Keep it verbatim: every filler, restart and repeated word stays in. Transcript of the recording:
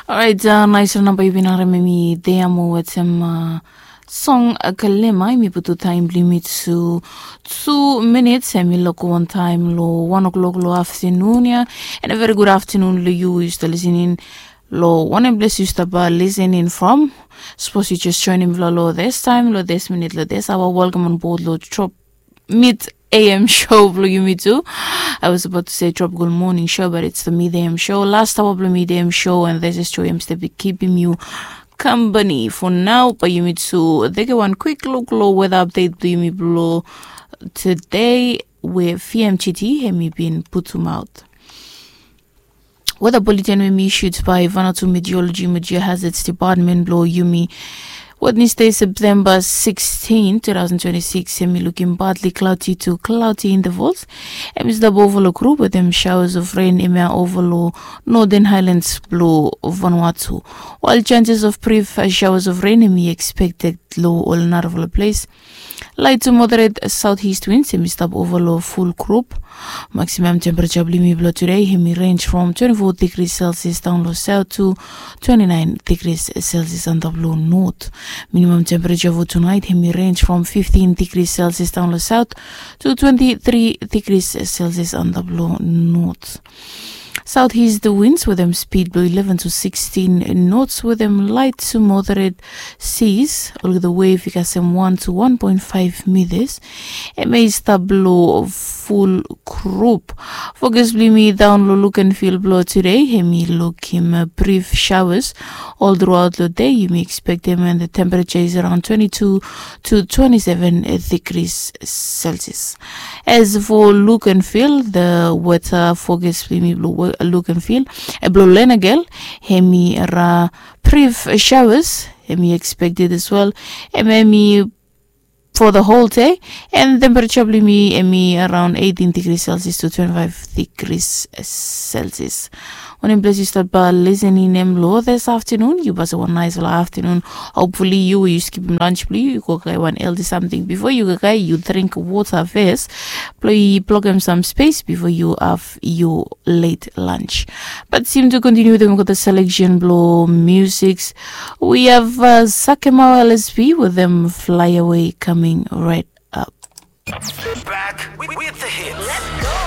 Orait, nais ol namba yu bin harim em i dei amo wetem song kalema. Em i putu taem blong yumi tu tu minits, em i loko wantaem long wan o'clock long aftenun ya. And a very good aftenun long yu yu stap lisening long wanem ples yu stap lisening from. Sapos yu jes joinim long long this taem, long this minit, long this aoa, welcome on board long Trop mid A M show blong yumi tu. I was about to say Tropical Morning Show, but it's the mid A M show. Last hour blong mid A M show, and this is Joy Amstead be keeping you company for now. Bae yumi tu teke wan quick look long weather update blong yumi blong today, we V M G T hemi bin putum aot. Weather bulletin we hemi issued by Vanuatu Meteorology mo Geohazards Department blong yumi. Wednesday, September sixteen, two thousand twenty-six, hemi lukim partly cloudy to cloudy intervals. Hemi stap ova long group wetem showers of rain hemia ova long northern highlands blong Vanuatu. While chances of brief showers of rain hemi expected long ol narafala ples. Light to moderate southeast winds hemi stap ova long full group. Maximum temperature blong yumi blong today hemi range from twenty-four degrees Celsius down long south to twenty-nine degrees Celsius antap long north. Minimum temperature for tonight hemi range from fifteen degrees Celsius down long south to twenty-three degrees Celsius antap long north. Southeast winds wetem speed blong eleven to sixteen knots wetem light to moderate seas. Olgeta wave i kasem one to one point five meters. Hemia i stap long full group. Fokus blong yumi daon long look and feel blong today, hemi lukim brief showers all throughout long day. Yumi expectem, and the temperature is around twenty-two to twenty-seven degrees Celsius. As for look and feel, the weather forecast blong yumi blong look and feel, blong Lenagel, hemi ra brief showers hemi expected as well. Hemi for the whole day, and temperature blong yumi hemi around eighteen degrees Celsius to twenty-five degrees Celsius. Wanem ples yu stap lisening hem long this aftenun, yu bae wan naesfala aftenun. Hopefully yu we yu skipim lunch blong yu, yu go kakae wan healthy samting bifo yu kakae, yu dring wota fes blong yu blokem sam spes bifo yu have yu late lunch. But yumi tu kontiniu wetem olgeta selection blong musiks. We have Sakemau L S B wetem Fly Away coming right up. Back with the hits.